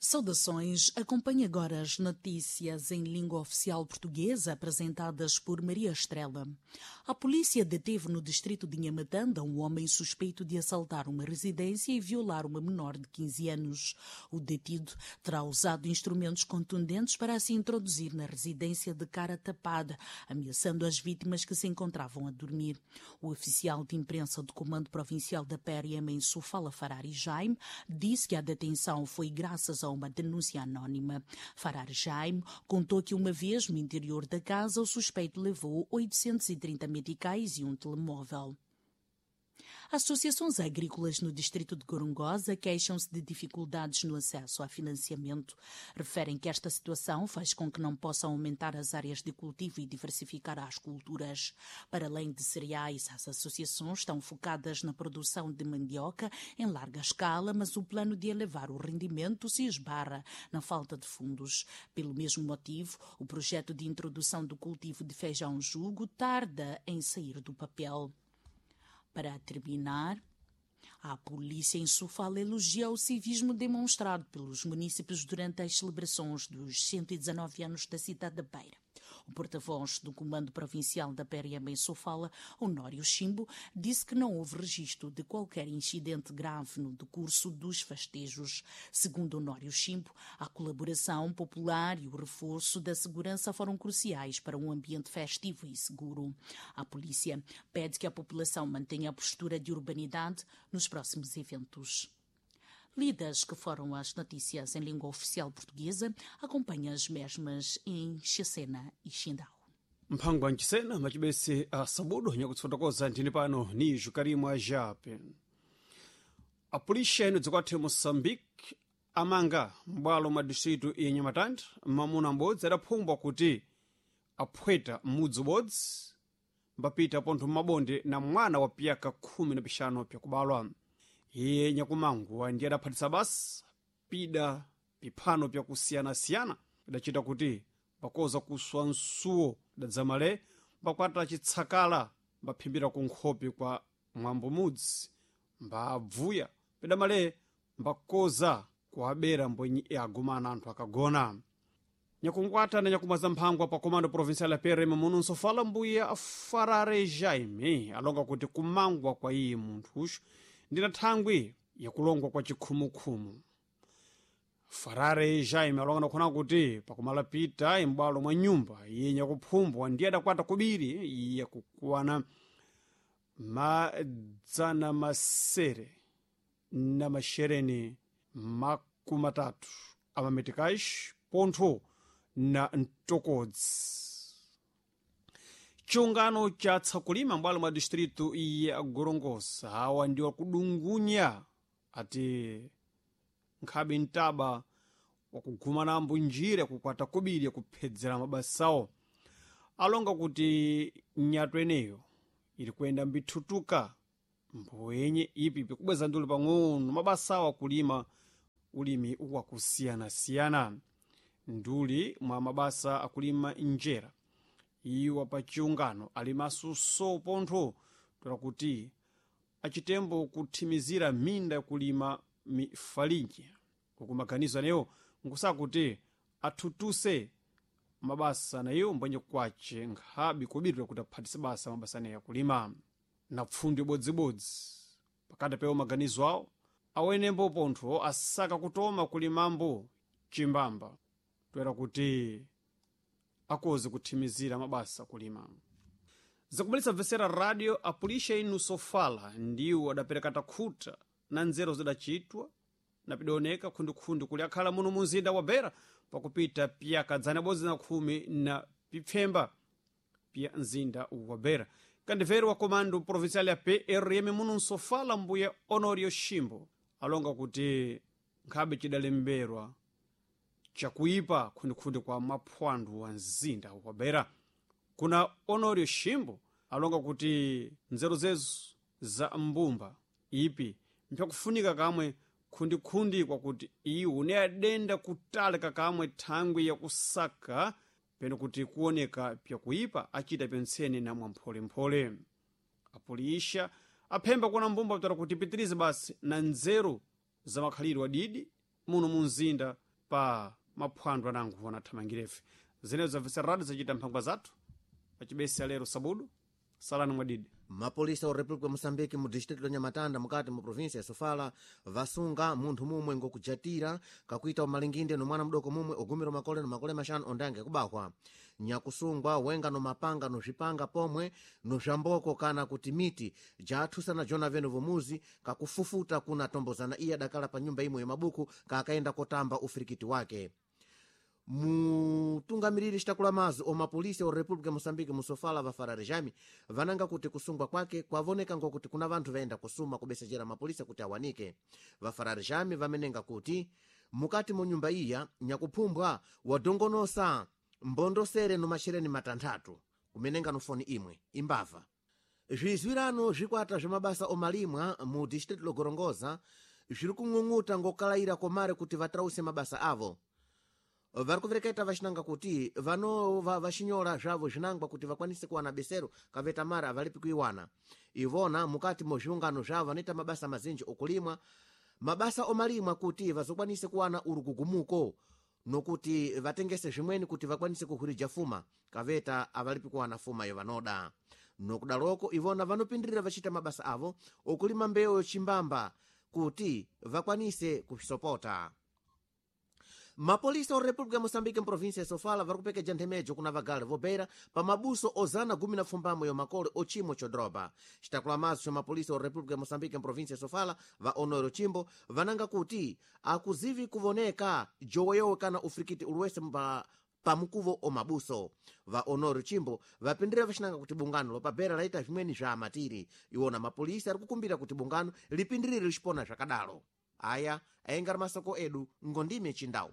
Saudações. Acompanhe agora as notícias em língua oficial portuguesa apresentadas por Maria Estrela. A polícia deteve no distrito de Nhamatanda um homem suspeito de assaltar uma residência e violar uma menor de 15 anos. O detido terá usado instrumentos contundentes para se introduzir na residência de cara tapada, ameaçando as vítimas que se encontravam a dormir. O oficial de imprensa do Comando Provincial da PRM em Sofala, Farari Jaime, disse que a detenção foi graças a uma denúncia anónima. Farar Jaime contou que uma vez no interior da casa o suspeito levou 830 meticais e um telemóvel. Associações agrícolas no distrito de Gorongosa queixam-se de dificuldades no acesso a financiamento. Referem que esta situação faz com que não possam aumentar as áreas de cultivo e diversificar as culturas. Para além de cereais, as associações estão focadas na produção de mandioca em larga escala, mas o plano de elevar o rendimento se esbarra na falta de fundos. Pelo mesmo motivo, o projeto de introdução do cultivo de feijão jugo tarda em sair do papel. Para terminar, a polícia em Sofala elogia o civismo demonstrado pelos munícipes durante as celebrações dos 119 anos da cidade da Beira. O porta-voz do Comando Provincial da PRM em Sofala, Honório Chimbo, disse que não houve registro de qualquer incidente grave no decurso dos festejos. Segundo Honório Chimbo, a colaboração popular e o reforço da segurança foram cruciais para um ambiente festivo e seguro. A polícia pede que a população mantenha a postura de urbanidade nos próximos eventos. Lidas que foram as notícias em língua oficial portuguesa, acompanha as mesmas em Xacena e Xindau. Mphango wa nchisena macibese a sabudo nyakutsotokoza nthini pano ni jukarimwa jape. Apulisha eno dzikwathu Moçambique amanga m'bwalo mwa distrito ya Nhamatanda mamuna m'bodzi adaphumbwa kuti aphweta m'mudzi ubodzi mbapita pontho m'mabonde na mwana wa piyaka 15 pyakubalwa. Iye nyakumanguwa ndiye adaphatisa basa pida piphano pyakusiyanasiyana idacita kuti mbakoza kuswa msuwo dadzamale mbakwata chitsakala mbaphimbira ku nkhope kwa mwambo mudzi mbabvuya pidamale mbakoza kuabera mbwenyi agumana anthu akagona. Nyakunkwata na nyakumwaza mphangwa pa Comando Provincial ya PRM muno nsofala mbuya Farare Jaime alonga kuti kumangwa kwa iye munthuxu ndina thangwi yakulongwa kwa chikhumukhumu. Farare Jaime alonga nakhona kuti pakumala pita imbwalo mwa nyumba iye nyakuphumbwa ndiye adakwata kubiri iye kukwana madzana masere na mashereni 30 amametikaxi pontho na mtokodzi. Chiungano cha tsakulima mbwalo mwa distrito ya Gorongosa hawa ndi wakudungunya ati nkhabe mtaba wakugumanambo njira kukwata kubiri yakuphedzera mabasawo. Alonga kuti nyato eneyo ili kuyenda mbithutuka mboyenye ipi pikubweza nduli pang'ono mabasawo akulima ulimi wakusiyanasiyana nduli mwa mabasa akulima njera. Iwo pa chiungano alimaso so pontho tola kuti achitembo kuthimizira minda yakulima mifalinji uku maganizo aneyo nkusakuti athutuse mabasa nayo mbwenye kwace nkhabe kubirira kuti aphatise basa mabasa aneyo akulima na pfundo ibodzibodzi. Pakati pewo maganizo awo awenembo pontho asaka kutoma kulimambo chimbamba toera kuti akoze kuthimizira mabasa kulima. Zakubalisa mvesera radio apulisha inu sofala ndiwo adapereka takhuta na nzeru zidachitwa na pidaoneka khundukhundi kuli akhala muno munzinda wa Beira pakupita piyaka 110 na pipfemba pya mzinda wa Beira. Kandiveri wa Comando Provincial ya PRM muno nsofala mbuya Honorio Shimbo alonga kuti nkhabe chidalemberwa chakuipa khundikhundi kwa maphwando wa mzinda wa Beira. Kuna Honorio Shimbo alonga kuti nzeru zezo za mbumba ipi mpyakufunika kamwe khundikhundi kwakuti iwo ne adenda kutalika kamwe thangwi yakusaka peno kuti kuoneka pyakuipa achita pentsene na mwampholemphole. Apulisha aphemba kuona mbumba kutara kuti pitirize basi na nzeru za makhalidwe adidi muno mu mzinda Pa maphwando anango anathamangirefe zinezo zamvetsera radio zachita mphangwa zathu pachibesi alero sabudu salani mwadidi. Mapolisa wa República ya Moçambique mu distrito la Nhamatanda mukati mu província ya Sofala vasunga munthu mumwe ngokujatira kakuita umalinginde no mwana mdoko mumwe ogumira makole no makole maxanu ondange kubahwa. Nyakusungwa wenga no mapanga no zvipanga pomwe no zvamboko kana kuti miti jathusana jona veno vomuzi kakufufuta kuna tombozana iye adakala pa nyumba imwe yamabuku kaakaenda kotamba ufirikiti wake. Mutungamiriri citakula mazi o mapolisi o República ya Moçambique musofala va Farare Jami vananga kuti kusungwa kwake kwavoneka ngokuti kuna vanthu vaenda kusuma kubesejera mapolisa kuti awanike. Va Farare Jami vamenenga kuti mukati mo nyumba iya nyakuphumbwa wadongonosa mbondosere no mashereni matanthatu kumenenga no foni imwe imbava. Zvizwirano zvikwata zvemabasa omalimwa mu distrito logorongoza zviri kung'ung'uta ngokalayira komare kuti vatrause mabasa avo. Vari kuvereketa vachinanga kuti vanova vachinyola zvavo zvinangwa kuti vakwanise kuwana besero kaveta mari avalipi kuiwana. Ivona mukati mo zviungano zvavo vanoita mabasa mazinji okulimwa mabasa omalimwa kuti vazokwanise kuwana urugugumuko nokuti vatengese zvimweni kuti vakwanise kuhwirija fuma kaveta avalipi kuwana fuma yo vanoda. Nokudaloko ivona vanopindirira vachita mabasa avo okulima mbewu yochimbamba kuti vakwanise kusopota. Mapolisa o República ya Moçambique mprovíncia ya Sofala vari kupekeja nthemejo kuna vagale vobeira pa mabuso ozana 18 yo makole ochimo chodroba. Citakula maso cha mapolisa o República ya Moçambique mprovíncia ya Sofala va Honoro Chimbo vananga kuti akuzivi kuvoneka joweyowe kana ufirikiti uliwese pamukuvo omabuso. Va Honoro Chimbo vapindira vacinanga kuti bungano lopabera laita zvimweni zva amatiri. Iwona mapolisa ari kukumbira kuti bungano lipindirire licipona zvakadalo. Aya ayenga masoko edu ngondime chindau.